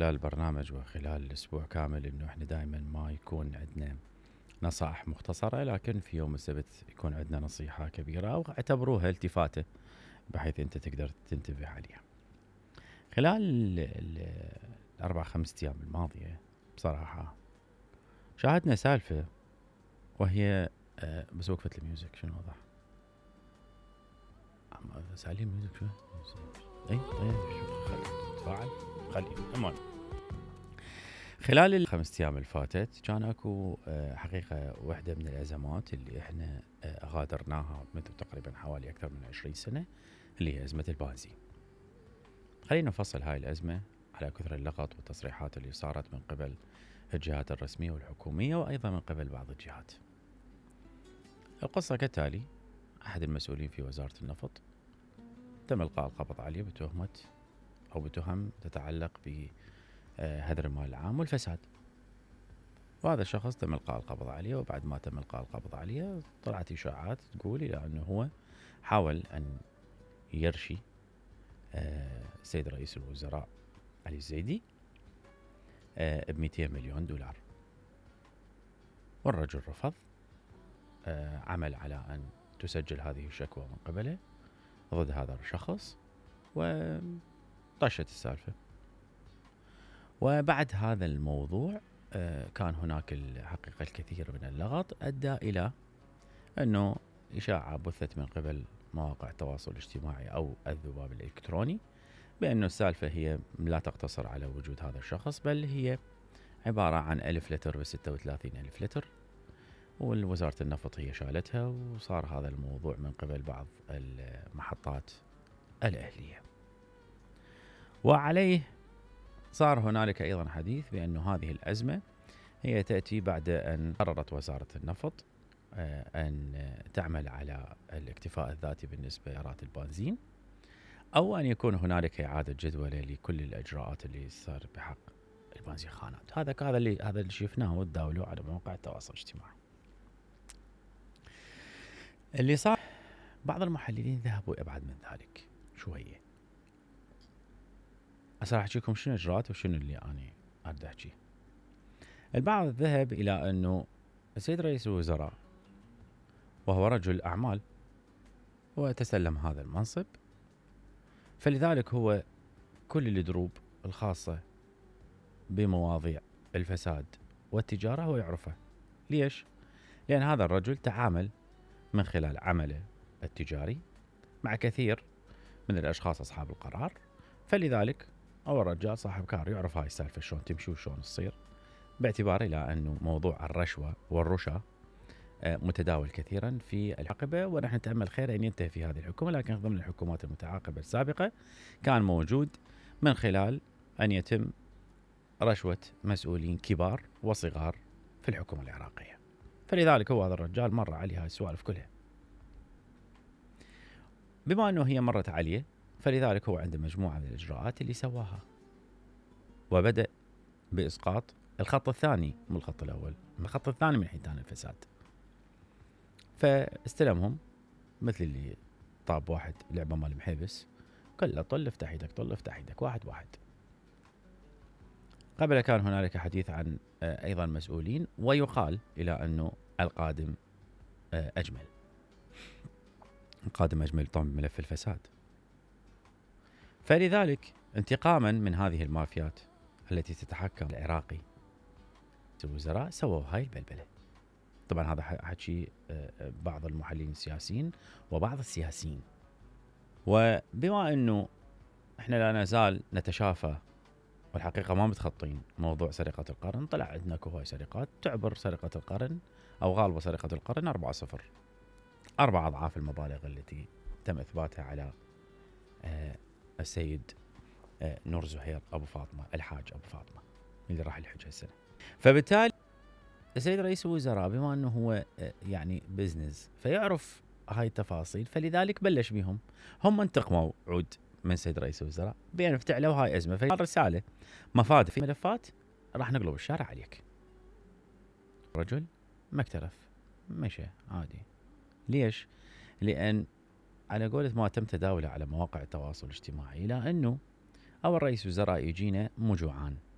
خلال البرنامج وخلال الأسبوع كامل إنه إحنا دائما ما يكون عندنا نصائح مختصرة، لكن في يوم السبت يكون عندنا نصيحة كبيرة أو اعتبروها التفاتة بحيث أنت تقدر تنتبه عليها. خلال الأربع خمسة أيام الماضية بصراحة شاهدنا سالفة، وهي بس وقفت الميوزك شنو وضح؟ سالين ميوزك شو؟ اي طيب خلي تفاعل خلي المهم. خلال الخمس ايام اللي فاتت كان اكو حقيقة واحدة من الازمات اللي احنا غادرناها منذ تقريبا حوالي اكثر من 20 سنة، اللي هي ازمة البنزين. خلينا نفصل هاي الازمة على كثر اللغط والتصريحات اللي صارت من قبل الجهات الرسمية والحكومية وايضا من قبل بعض الجهات. القصة كالتالي: احد المسؤولين في وزارة النفط تم القاء القبض عليه بتهمة او بتهم تتعلق بهدر المال العام والفساد، وهذا الشخص تم القاء القبض عليه. وبعد ما تم القاء القبض عليه طلعت اشاعات تقول الى انه هو حاول ان يرشي السيد رئيس الوزراء علي الزيدي ب200 مليون دولار، والرجل رفض. عمل على ان تسجل هذه الشكوى من قبله ضد هذا الشخص، وطشت السالفة. وبعد هذا الموضوع كان هناك الحقيقة الكثير من اللغط أدى إلى أنه إشاعة بثت من قبل مواقع التواصل الاجتماعي أو الذباب الإلكتروني بأنه السالفة هي لا تقتصر على وجود هذا الشخص، بل هي عبارة عن 1000 لتر ب36 ألف لتر، والوزارة النفط هي شالتها، وصار هذا الموضوع من قبل بعض المحطات الأهلية. وعليه صار هنالك أيضا حديث بأن هذه الأزمة هي تأتي بعد أن قررت وزارة النفط أن تعمل على الاكتفاء الذاتي بالنسبة لراتب البنزين، أو أن يكون هنالك إعادة جدولة لكل الإجراءات اللي صار بحق البنزين خانات. هذا اللي شفناه وتداولوه على مواقع التواصل الاجتماعي. اللي صار بعض المحللين ذهبوا أبعد من ذلك شوية. راح أحكيكم شنو إجراءات وشنو اللي أنا أريد أحكيه. البعض ذهب إلى أنه السيد رئيس الوزراء وهو رجل أعمال وتسلم هذا المنصب، فلذلك هو كل الدروب الخاصة بمواضيع الفساد والتجارة هو يعرفه. ليش؟ لأن هذا الرجل تعامل من خلال عمله التجاري مع كثير من الأشخاص أصحاب القرار، فلذلك هو الرجال صاحب كار يعرف هاي السالفة شلون تمشي وشلون تصير، باعتبار إلى أنه موضوع الرشوة والرشا متداول كثيرا في الحقبة، ونحن نتأمل خير أن ينتهي في هذه الحكومة، لكن ضمن الحكومات المتعاقبة السابقة كان موجود من خلال أن يتم رشوة مسؤولين كبار وصغار في الحكومة العراقية. فلذلك هو هذا الرجال مر عليه هاي السوالف كلها. بما أنه هي مرت عليه، فلذلك هو عنده مجموعة من الإجراءات اللي سواها، وبدأ بإسقاط الخط الثاني من الخط الأول، من الخط الثاني من حيتان الفساد. فاستلمهم مثل اللي طاب واحد لعبة مال محيبس، كله طل افتح ايدك، طل افتح ايدك، واحد واحد. قبل كان هنالك حديث عن أيضا مسؤولين، ويقال إلى أنه القادم أجمل. القادم أجمل طبعا ملف الفساد. فلذلك انتقاما من هذه المافيات التي تتحكم العراقي، الوزراء سووا هاي البلبلة. طبعا هذا حكي بعض المحللين السياسيين وبعض السياسيين. وبما أنه احنا لا نزال نتشافى والحقيقة ما متخطين موضوع سرقة القرن، طلع عندنا كهواي سرقات تعبر سرقة القرن أو غالبة سرقة القرن 4-0، 4 أضعاف المبالغ التي تم إثباتها على السيد نور زهير أبو فاطمة، الحاج أبو فاطمة اللي راح الحج هالسنة. فبالتالي السيد رئيس الوزراء بما أنه هو يعني بزنس فيعرف هاي التفاصيل، فلذلك بلش بهم. هم انتقموا عود من سيد رئيس الوزراء بأن افتعلوا هاي أزمة، فالرسالة مفاد في ملفات راح نقلب الشارع عليك. رجل ما اكترث، مشى عادي. ليش؟ لأن على قولة ما تم تداوله على مواقع التواصل الاجتماعي، إلى أنه أو الرئيس وزراء يجينا مو جوعان